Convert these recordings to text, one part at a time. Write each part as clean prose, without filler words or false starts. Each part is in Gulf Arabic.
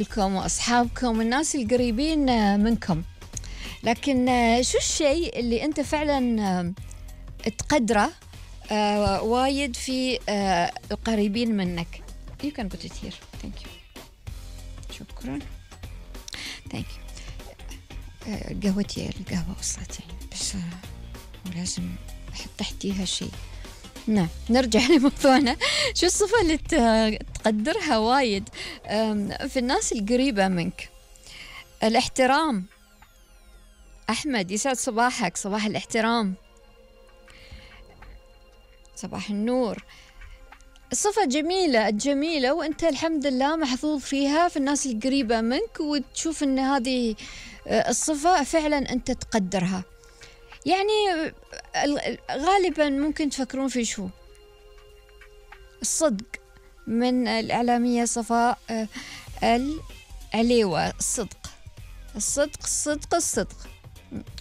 لكم وأصحابكم والناس القريبين منكم. لكن شو الشيء اللي أنت فعلا تقدره وايد في القريبين منك؟ You can put it here. Thank you. شكرا. Thank you. القهوة وصلت يعني بس ولازم أحط تحتيها شيء. نعم، نرجع لموضوعنا. شو الصفة اللي تقدرها وايد في الناس القريبة منك؟ الاحترام. أحمد، يسعد صباحك، صباح الاحترام، صباح النور. الصفة جميلة وأنت الحمد لله محظوظ فيها في الناس القريبة منك، وتشوف أن هذه الصفة فعلا أنت تقدرها. يعني غالبا ممكن تفكرون في شو؟ الصدق. من الإعلامية صفاء العليوة. الصدق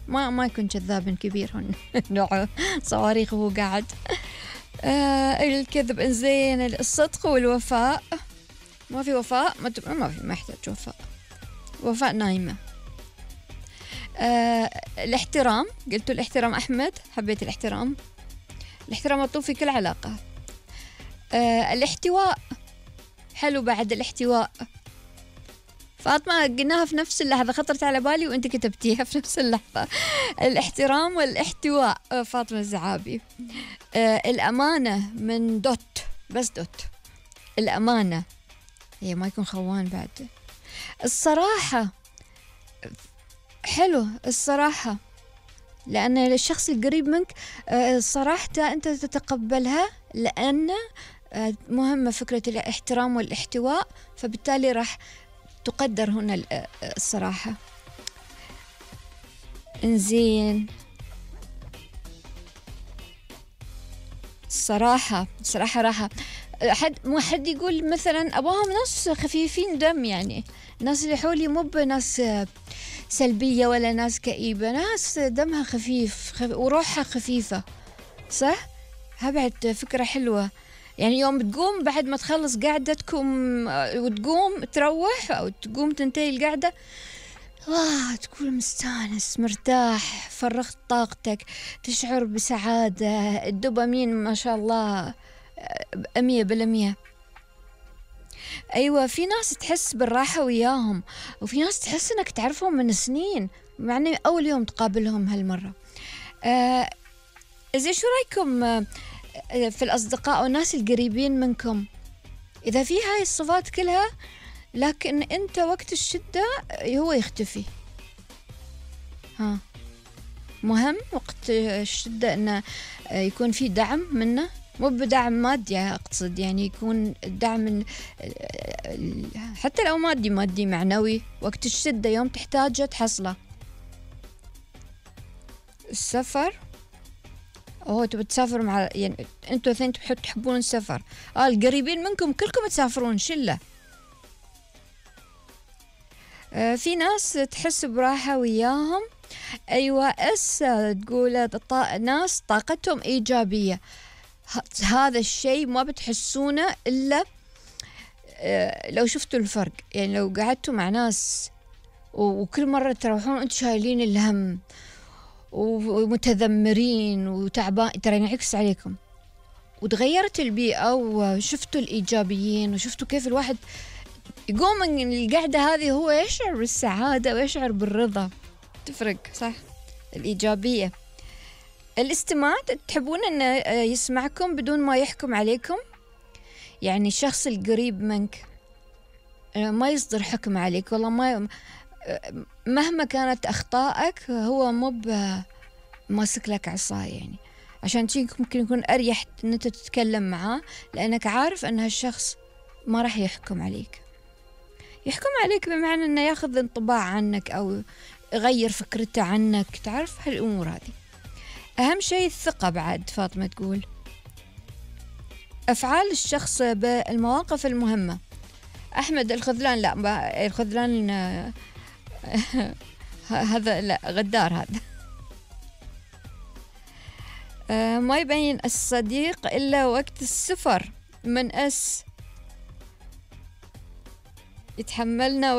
ما يكون كذاب كبير هون نوع صواريخ وهو قاعد. الكذب إنزين. الصدق والوفاء. ما في وفاء، ما يحتاج وفاء نايمة. الاحترام. قلتوا الاحترام أحمد، حبيت الاحترام مطلوب في كل علاقة. الاحتواء حلو بعد. الاحتواء فاطمة قلناها في نفس اللحظة، خطرت على بالي وانت كتبتيها في نفس اللحظة. الاحترام والاحتواء فاطمة الزعابي. الأمانة من بس دوت. الأمانة هي ما يكون خوان بعد. الصراحة حلو، الصراحة لأن الشخص القريب منك صراحته أنت تتقبلها، لأن مهمة فكرة الاحترام والاحتواء، فبالتالي راح تقدر هنا الصراحة. إنزين. الصراحة راحة. حد يقول مثلا أباهم ناس خفيفين دم، يعني الناس اللي حولي مو بناس سلبية ولا ناس كئيبة، ناس دمها خفيف وروحها خفيفة، صح؟ بعد فكرة حلوة. يعني يوم تقوم بعد ما تخلص قعدتكم وتقوم تروح أو تقوم تنتهي القعدة، تكون مستانس مرتاح، فرغت طاقتك، تشعر بسعادة، الدوبامين ما شاء الله 100%. أيوة، في ناس تحس بالراحة وياهم، وفي ناس تحس أنك تعرفهم من سنين معني أول يوم تقابلهم هالمرة. إذا شو رأيكم في الأصدقاء والناس القريبين منكم؟ إذا في هاي الصفات كلها لكن أنت وقت الشدة هو يختفي. مهم وقت الشدة أنه يكون في دعم منه، مو بدعم مادي أقصد، يعني يكون الدعم حتى لو مادي معنوي، وقت الشدة يوم تحتاجه تحصله. السفر. تبي تسافر مع، يعني انتوا اثنين تحبون السفر. القريبين منكم كلكم تسافرون شلة. في ناس تحس براحة وياهم. أيوة، تقول ناس طاقتهم إيجابية. هذا الشيء ما بتحسونه إلا لو شفتوا الفرق. يعني لو قعدتوا مع ناس وكل مرة تروحون أنتوا شايلين الهم ومتذمرين وتعبان، ترى ينعكس عليكم. وتغيرت البيئة وشفتوا الإيجابيين، وشفتوا كيف الواحد يقوم من القعدة هذه هو يشعر بالسعادة ويشعر بالرضا. تفرق، صح؟ الإيجابية. الاستماع. تحبون أن يسمعكم بدون ما يحكم عليكم. يعني الشخص القريب منك ما يصدر حكم عليك، والله مهما كانت أخطائك هو مو ماسك لك عصاية، يعني عشان ممكن يكون أريح أن أنت تتكلم معاه، لأنك عارف أن هالشخص ما راح يحكم عليك بمعنى أنه ياخذ انطباع عنك أو يغير فكرته عنك. تعرف هالأمور هذه. أهم شيء الثقة بعد. فاطمة تقول أفعال الشخص بالمواقف المهمة. أحمد الخذلان. لا، الخذلان هذا لا، غدار هذا. ما يبين الصديق إلا وقت السفر. من يتحملنا